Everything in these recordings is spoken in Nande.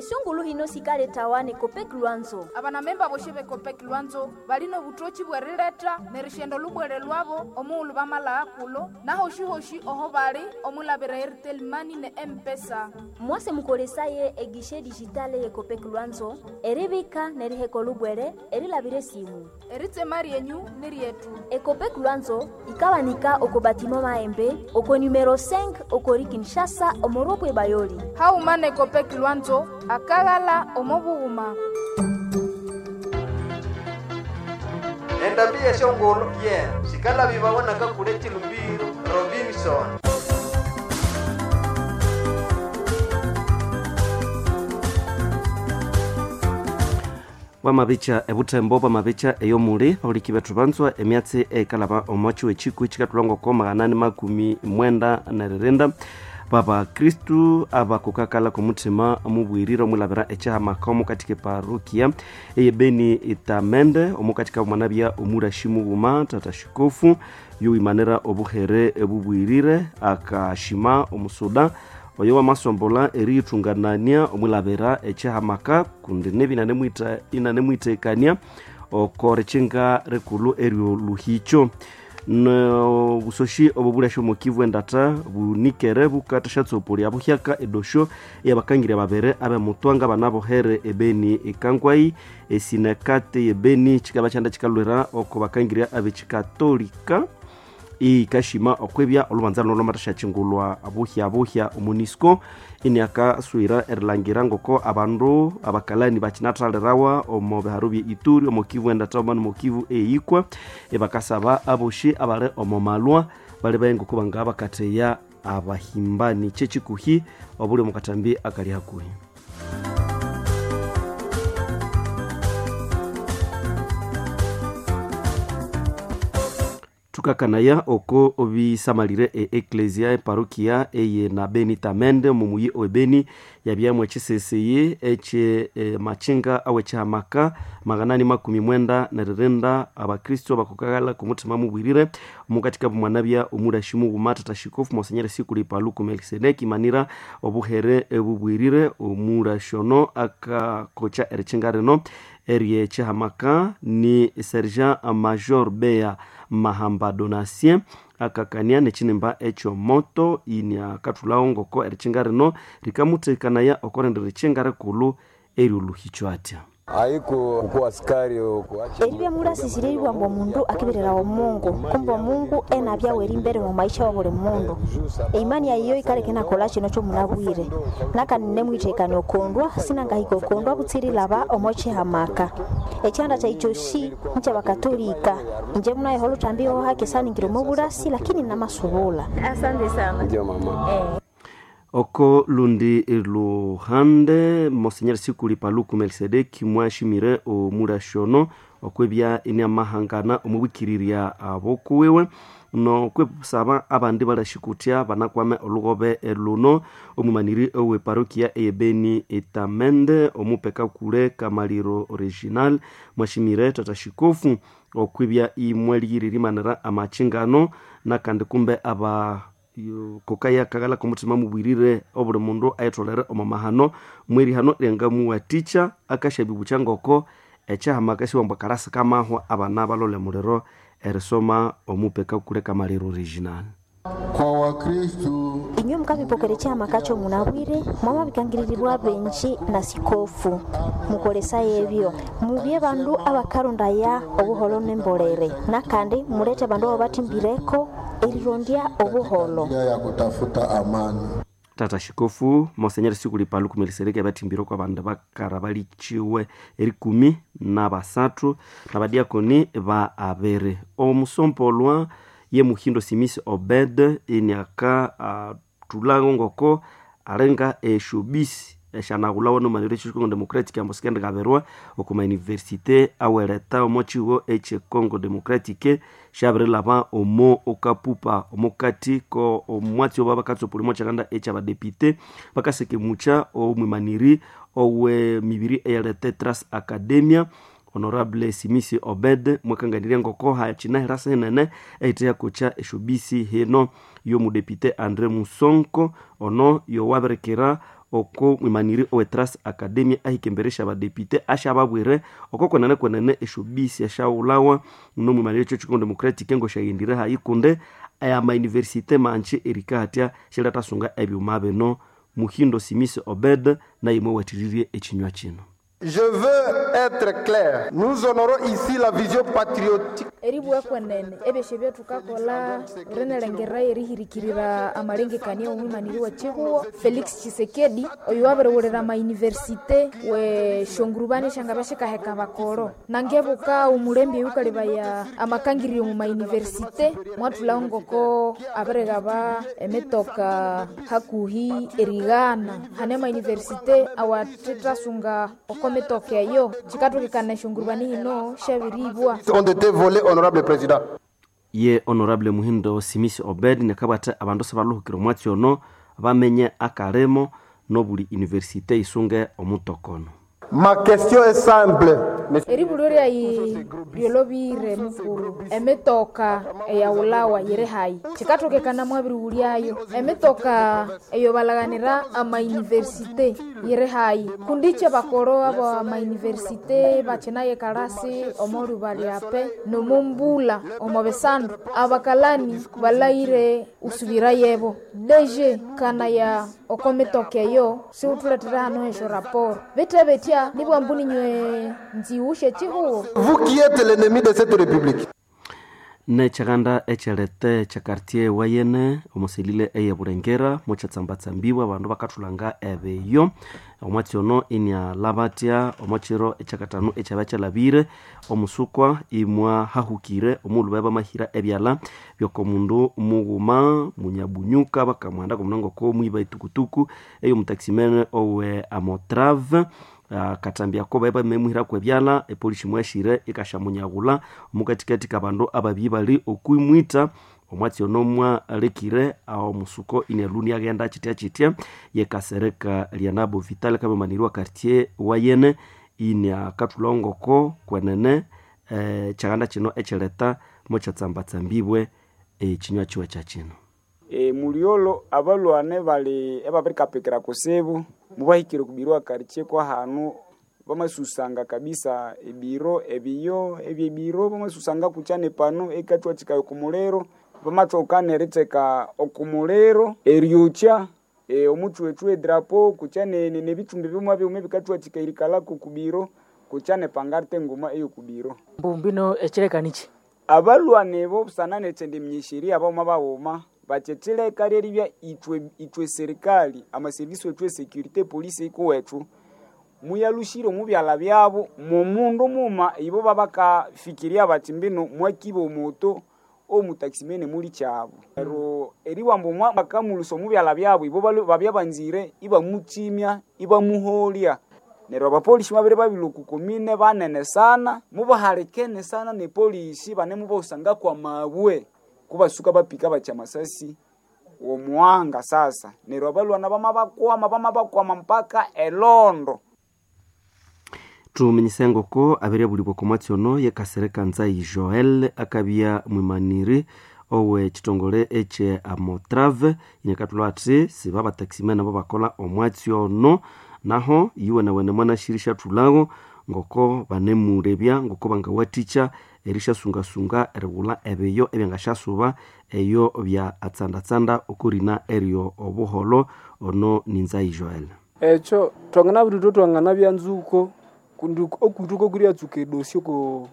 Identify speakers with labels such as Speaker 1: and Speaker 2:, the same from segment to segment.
Speaker 1: Esungulu hino sikaletawa ne Copec Lwanzo.
Speaker 2: Abanamemba boshi be Copec Lwanzo balina obutoki bw'erileta nerishenda olubwere lwabo omughulhu bamalagha kulo nahoshi-hoshi oho bali omulabira Airtel Money ne M-Pesa.
Speaker 1: Mwase mukolesaye egishe digitale ye Copec Lwanzo eribika neriheka olubwere erilabira esimu.
Speaker 2: Eritsema ryenyu ni ryetu.
Speaker 1: Ecopec Lwanzo ikabanika oko batimo Maembe oko numero 5 okori Kinshasa omoropwe Bayoli.
Speaker 2: Hauma ne Copec Lwanzo akaghala omo bughuma.
Speaker 3: Endambi yeshongolo ye sikalabibawa nakakule chilumbiro Robinson.
Speaker 4: Bwamabicha ebutembo bwamabicha eyomuli bahuliki bethu banzwa emyatsi ekalaba omwachi wechikwi chikatulangwa 894 baba kristu abakukakala kumuthima mubwirire omwilabira echihamaka omukati keparokia eyebeni itamende omukati kabumwanabya omurashi mughuma tata shikofu yowimanira obuhere ebubwirire akashima omusuda oyo wamasombola eriyithunganania omwilabira echihamaka kundi nebi inanemwitekania oko rikinga rikulu eryoluhicho nobusoshi obo bulasha omukivu endata bunikere bukathasyatsopolia buhyaka edosho eyabakangirya babere abemutwanga banabohere ebeni ekangwai esinakate yebeni chikaba kyanda chikalwira oko bakangirya abekikatolika ikashima okwebya olubanza luno lwamathasyakyingulwa buhya buhya omunisco iniakaswira erilangira ngoko abandu abakalani bakinathalirawa omo biharu bye ituri omo kivu endata omo nomo kivu eyikwa ebakasaba aboshi abali omo malwa bali baye ngoko bangaba bakatheya abahimbani kyekikuhi obuli omu katambi akali hakuhi. Tukakanaya oko obisamalire e eklesia eparokia eye na beni tamende mumuyi oebeni yabyamwe echiseseye eche machinga awe chihamaka 897 abakristo bakukagala kumutima mubwirire omukatika bumwanabya omurashi mughuma tata shikofu monsenyeri sikuli paluku melkisedeki manira obuhere ebubwirire omurashono akakocha erichinga rino erye chihamaka ni sergent major bea mahamba donatien akakania nechinimba ekyomoto iniakathulhawo ngoko erichinga rino rikamuthekanaya okorenda erichinga rikulu eryoluhicho atya.
Speaker 5: Haiko kuwa askari
Speaker 6: eribya mulasisire eribwamba omundu akibererawa omungu kumbe omungu enabya weri mbere mu maisha wa buli mundu eimani yayiyo ikaleka enakola kino kyomunabwire nakandi nemwithekania okondwa sinangahika okondwa butsirilaba omo chihamaka ekyanda kyayi kyosi nkyabakatolika inje munayeho oluthambi hohake saningira omo bulasi lakini namasubula.
Speaker 1: Asante sana.
Speaker 5: Ndio mama.
Speaker 4: Oko lundi luhande monsenyeri sikuli paluku melkisedeki mwashimire omurashono okwebya iniamahangana omubwikirirya abokuwiwe nokwesaba abandi balashikutya banakwame olugobe luno omumaniri owe parokia eyebeni etamende omupeka kule kamaliro original mwashimire tata shikofu okwibya imweliyiririmanira amachingano nakandi kumbe aba kokaya kagala kumutima mubwirire obuli mundu ayitholere omo mahano mwerihano ryangamuwatikya akasyabibucha ngoko ekyahamaka siwambwa kalasi kamahwa abana balole muliro erisoma omupeka kule kamaliro original.
Speaker 7: Kwa Wakristu
Speaker 6: inywe mukabipokera echihamaka kyomunabwire mwamabikangiririrwa benji na sikofu mukolesayo ebyo mubye bandu abakarondaya obuholo nembolere nakandi mulete bandu abo batimbireko erirondya obuholo
Speaker 7: ya kutafuta amani.
Speaker 4: Tata shikofu monsenyeri sikuli paluku melisereki abathimbire kwa bandu bakara balichiwe erikumi na basathu na badiakoni ba abere omusompolwa ye muhindo simisi obed iniaka athulango ngoko alenga eshobisi esyanahulhawa nomaniro echi Congo Democratic ambo sikendikaberwa okuma universite aweleta omo chiwo eche Congo Democratic syabirilhaba omo okapupa omukati ko omwatsi oba bakatsopolya omo kyakanda ekyabadepite bakasekemucha omwimaniri owe mibiri eyaleta Trans Academia Honorable Simisi Obed mwakanganirya ngoko hakinahirasa hinene ehitheyakocha eshobisi hino yomudepite Andre Musonko ono yowabirikira oko mwimaniri owe Trust Academy ahikemberesha abadepite ashababwire oko kwenene kwenene eshobisi eshaghulawa no mwimaniri echo Congo Democratic ngo shaghendire hayi kunde ama universite manche erikahatya shilatasunga ebyuma bino. Muhindo Simisi Obed naye mwewathiririe echinywa kino.
Speaker 3: Je veux être clair. Nous honorons ici la vision patriotique.
Speaker 2: Eribwa kwenene ebyesyo byathukakolha rinalengera erihirikirira amalengekania omwimaniri wa chihuho Felix Tshisekedi oyo wabiriwulira amayuniversite we shongurubani esyangabya shikaheka bakoro nangebuka omulembe oyukalebaya amakangiryo omu mayuniversite mwathulhaho ngoko abirighaba emitoka hakuhi erighana hane amayuniversite awathethasunga oko mitoka eyo chikathukikana eshongurubani hino syabiribwa.
Speaker 3: Ont été volés, honorable président.
Speaker 4: Ye honorable Muhindo Simisi Obed nekabwatha abandu sibaluhukira omwatsi ono bamenye akalimo nobuli universite isunge omutokono.
Speaker 3: Ma question est simple.
Speaker 2: Eribulyo lyayi lyolobire mukuru emitoka eyaghulhawa yiri hayi chikathokekana mwabirighulyayo emitoka eyo balaghanira amayuniversite yiri hayi kundi bakoro abo amayuniversite bakinayo ekalasi omo lhuba lyape nomumbula omo bisandu abakalani balahire usubira yebo deje kana ya oko mitoka eyo siwuthulethera hano esyo raporo bithe bitya nibwambu ninywe nziwushe chihuho.
Speaker 3: Vous qui êtes l'ennemi de cette république.
Speaker 4: Nekyaganda ekyalete kya quartier wayene omuselile eye Bulengera mukyatsambatsambiwa abandu bakathulanga ebiyo omwatsi ono inialabatya omwakiro ekyakatano ekyabya kyalabire omusukwa imwahahukire omughulhu babya bamahira ebyalha byokomundu mughuma munyabunyuka bakamuhanda komunango komwiba etukutuku eyomutaximene owe amotrave katambya ko bae bamemuhiraku ebyalha epolisi mwashire ikashamunyaghulha omukatikati kabandu ababyi bali okwimwita omwatsi ono mwalekire awo musuko ineluni aghenda chitya chitya yekasereka lyanabo vital kamemaniriwa quartier wayene ini akathulhongoko kwenene kyaghanda kino ekyileta mukyatsambatsambibwe ekinywa kiwe kyakino.
Speaker 8: Mulyolo abalwane bali ebabirikapikira kusibu mubahikire okubirwa quartier kwa hanu bamasusanga kabisa ebiro ebiyo ebyebiro bamasusanga kukyane pano ekathwathikaya okumuliro bamathoka eritheka okumuliro eryokya omuthwethwe edrapo kukyane nebithumbi bimwe bimwe ebikathwathika erikalako okubiro kukyane pangarte nguma eyokubiro.
Speaker 9: Mbumbino ekyilekanichi
Speaker 8: abalwane bo busana nekyendiminyesherya abawuma bawuma bakyethileka lyeribya ithwe serikali amaserivisi wethu esecurity polisi ikuwethu muyalushire omu byalha byabo mumundu muma ibo babakafikiria bathi mbino mwakiba omoto omutaximene muli kyabo neryo eribwamba bakamulusa omu byalha byabo ibo babya banzire ibamukyimya ibamuholya neryo abapolisi babere babilwa oku komine banene sana mubahalikene sana nepolisi banemubahusanga kwa mabwe kubasuka bapika bakya masasi womuwanga sasa neryo abalwana bamabakwama bamabakwama mpaka elondo.
Speaker 4: Tumenyise ngoko abiryabulibwa okomwatsi ono yekasereka Nzai Joel akabya mwimaniri owe kitongole ekye amotrave inekathulha athi siba abataximene abo bakola omwatsi ono naho iwenawene mwanashirisha thulhago ngoko banemulebya ngoko bangawathikya erisyasungasunga erighulha ebiyo ebyangasyasuba eyo bya atsandatsanda okurina eryo obuholo ono ni Nzai Joel.
Speaker 10: Ekyo twanganabirithwa twanganabya nzuko kundi okuithuka okuryatsuka edosi oku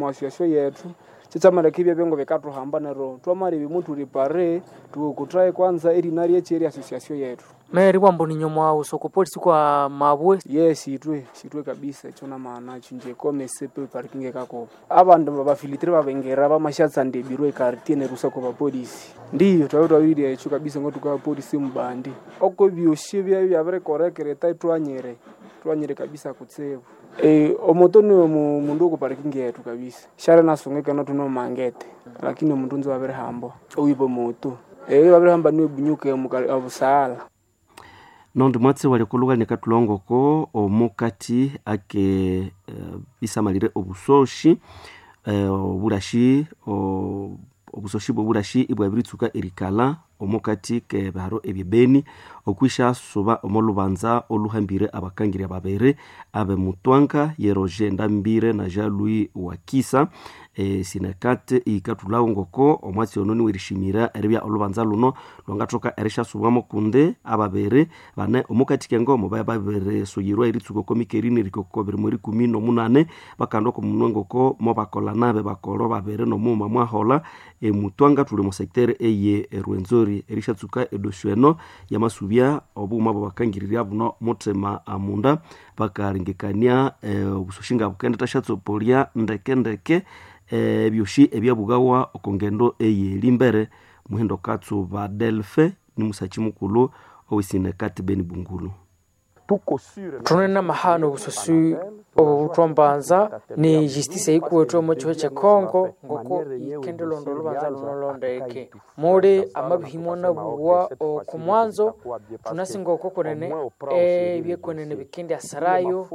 Speaker 10: association yethu kyekyamaleka ebyabya ngobikathuhamba neryo twamalebya muthuli pare thuwokuthaye kwanza erina ryekyi erya association yethu.
Speaker 9: Meri bwambu ninyuma usoko polisi kwa mabwe.
Speaker 10: Yes, itwe sitwe kabisa ekyo namaana kyo nje kome sepe parking ekakoba abandu babafilitire babengera bamashatsanda ebiro ekartie neryo usako bapolisi ndiyo twabya twabirya ekyo kabisa ngotuka polisi mubandi oko byosi byabya byabirikorekereta twanyire twanyire kabisa kutsibu. Omoto niwe mundu oku parking yetu kabisa shara nasungekana tunomangete lakini omundu nzi wabirihamba owiba moto wabirihamba niwe bunyuke obusaala.
Speaker 4: Nondi mwatsi wali nekathulhongoko omukati ake isamalire obusoshi obulashi obusoshi bwobulashi ibwabiritsuka erikalha Omukati kebiharo ebyebeni okwishasuba omo lubanza oluhambire abakangirya babiri abe Mutwanga ye Roger Ndambire na Jean-Louis Wakisa. Sinekate ikathulhawo ngoko omwatsi ono niwerishimira eribya olubanza luno lwangathoka erishasubwamo kundi ababiri bane omukati kengomo baya babirisuyirwa eritsuka oko mikerini erikoko 2018 bakanda oko munwe ngoko mobakola nabe bakolo babiri nomughuma mwahola Emutwanga thuli mu secteur eye Rwenzori erishatsuka edosyo eno yamasubya obughuma bwabakangirirya buno muthima amunda bakaringikania obusoshi nga bukendithashatsopoliya ndeke ndeke ebyoshi ebyabugawa oko ngendo eyelimbere. Muhindo Katsuba Delfe ni musachi mukulhu owesinekati Beni Bungulu.
Speaker 9: Thune mahano obusosi obu buthwambanza ni justice yikuwethu omo kihwa kye Congo ngoko yikendelonda olubanza luno londeke muli amabihimwa nabuwa oku mwanzo thunasi ngoko kwenene ebyekwenene bikendyasirayo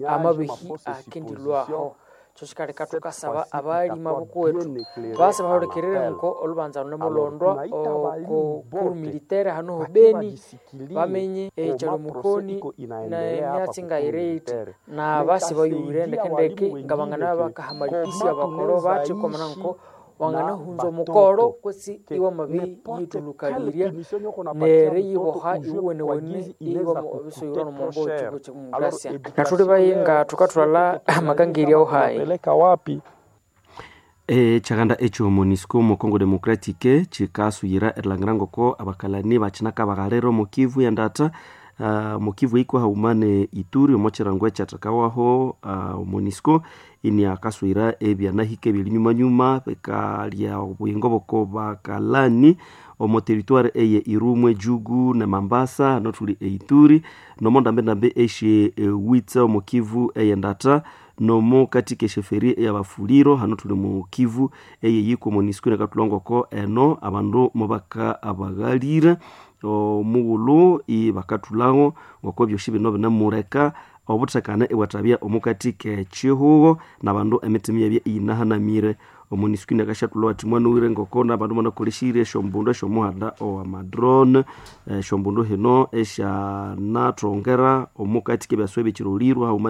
Speaker 9: amabihi akendilwaho. Kyo thukasaba abalima bukuwethu basa bahulikirire nko olubanza lune mulondwa oko cour militaire hano ho Beni bamenye ekyalo mukoni na emyatsi ngayireyithe na basi bayuwire ndekendeke nga bangana bakahamalipisi abakolo bathi kwamana nko wanganahunza omukolo kwesi iwamabi yithulukalirya neri yiboha iwuwenewene iwabisoyirwa nomombo wekihugho kyedemokrasia nathuli bayinga thukathwalha amakangirya ohayi.
Speaker 4: Ekyaganda ekyo MONUSCO omo Congo Democratic kikasuyira erilhangira ngoko abakalani bakinakabaghalira omo Kivu yendata omo Kivu iko haghuma ne Ituri omo kirango ekyathekawaho MONUSCO iniakasuyira ebyanahika ebyerinyumanyuma bikalya obuyingo bwoko bakalani omo territoire eye Irumwe, Jugu ne Mambasa nothuli e Ituri nomo ndambendambe esye Witsa omo Kivu eyendata nomo katika esheferi eyabafuliro hano thuli mu Kivu eyeyiko MONUSCO inakathulha ngoko eno abandu mubaka abaghalire omughulhu ibakathulhawo ngoko ebyosi bino binemuleka obuthekane ibwathabya omukati k'ekihugho n'abandu emitima yabya iyinahanamire. MONUSCO inakasyathulhawo athi mwanowire ngoko n'abandu banakolesire esyombundu esyomuhanda owa madrone esyombundu hino esyanathongera omukati k'ebyaswa ebyekirolirwe haghuma.